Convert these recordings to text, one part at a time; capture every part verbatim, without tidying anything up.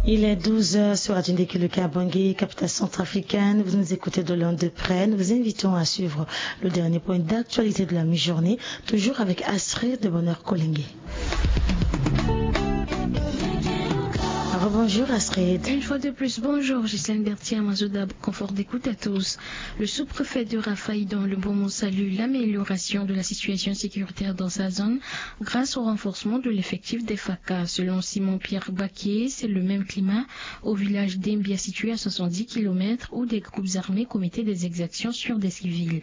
Il est douze heures sur Radio Ndekilo Kabangui, capitale centrafricaine. Vous nous écoutez de loin, de près. Nous vous invitons à suivre le dernier point d'actualité de la mi-journée, toujours avec Astrid de Bonheur Kolenge. Rebonjour Astrid. Une fois de plus, bonjour Gisèle Bertier, Amazoda, confort d'écoute à tous. Le sous-préfet de Rafaï dans le Beaumont salue l'amélioration de la situation sécuritaire dans sa zone grâce au renforcement de l'effectif des FACA. Selon Simon-Pierre Baquier, c'est le même climat au village d'Embia, situé à soixante-dix kilomètres, où des groupes armés commettaient des exactions sur des civils.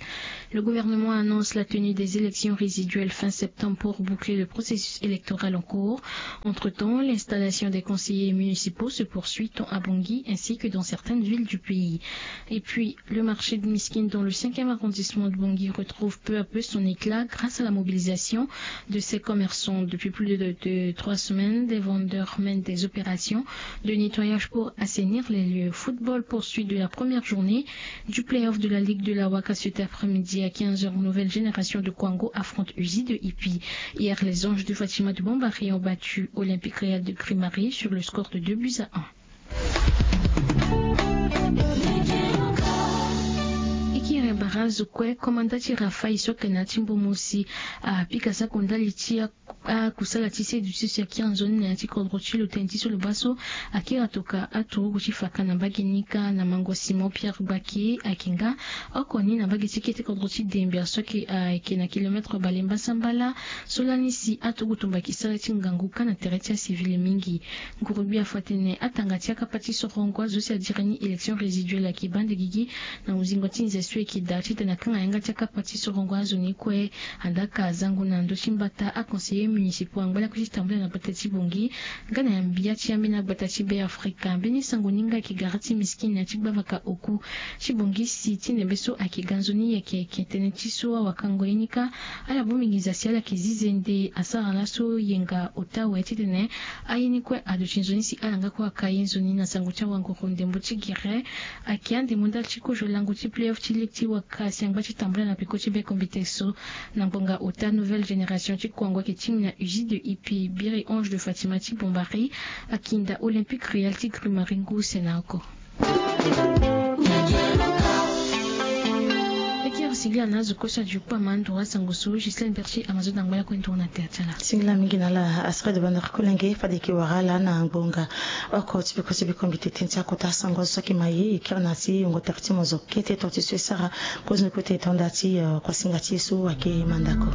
Le gouvernement annonce la tenue des élections résiduelles fin septembre pour boucler le processus électoral en cours. Entre-temps, l'installation des conseillers municipaux se poursuit tant à Bangui ainsi que dans certaines villes du pays. Et puis, le marché de Miskine dans le cinquième arrondissement de Bangui retrouve peu à peu son éclat grâce à la mobilisation de ses commerçants. Depuis plus de, de trois semaines, des vendeurs mènent des opérations de nettoyage pour assainir les lieux. Football, poursuite de la première journée du play-off de la Ligue de la Waka cet après-midi à quinze heures. Nouvelle génération de Kwango affronte Uzi de Ipi. Hier, les Anges de Fatima de Bombari ont battu Olympique Réel de Grimari sur le score de deux buts à un. E kiri bara azo kue, komanda ti Rafaï so ayeke na ya ti mbo mosi apika sako ndali ti akusala ti seduti so si akiri nzoni na ya ti kodro ti lo tënë ti so lo baa so akiri atoka aturugu ti Faka na mbage ni kâ na mango Simon Pierre Gbaki ayeke nga oko ni na mbage ti kete kodro ti Dembia so ayeke na kilomètre bale mbasambala. So lani si aturugu tombaki sara ti ngangu kâ na tere ti acivil mingi. Ngurugbi afa atene atanga ti akapa ti sorongo azo si adiri ni élection résiduelle ayeke baa nde gigi na mozingo ti nze so ayeke daa titene akanga yanga ti akapa ti sorongo azo ni kue. Andaka azango na ndö ti mbata aconseiller municipaux angba lakue ti tambula na gbata ti Bangui nga na ya mbia ti ambeni agbata ti Be Afrika. Mbeni sango ni nga ayeke gara ti Miskine na ya ti gbavaka oku ti Bangui si ti ndembe so ayeke ga nzoni ayeke yeke tënë ti so awakango ye ni kâ. Ala bongbi nginza si ala yeke zi zende asara laso yenga ota awe titene aye ni kue aduti nzoni si ala nga kue aka ye nzoni na sango ti awanguru ndembo ti gere. Ayeke andembo ndali ti kozo lango ti play-off ti ligue ti waka si angba ti tambula na peko ti be kombite so. Na ngbonga ota nouvelle génération ti Kwango ayeke tingbi na Uzi de Ipi, biri Ange de Fatima ti Bombari akinda Olympique Réel ti Grimari ngu se na oko. Ekiri singila na azo kue so adi kue ama nduru asango so Gislaine Berti ama zo dangba ya kue nduru na tere ti ala. Singila mingi na ala Astrid Banor Kolenge fade eke wara ala na ngbonga oko ti peko ti be kombite tënë ti akota sango azo so ayeke ma ye ekiri na ti yongo tere ti mozo kete tonga ti so e sara. Kozoni kota e tonda ti kuasinga ti e so ayeke mandako.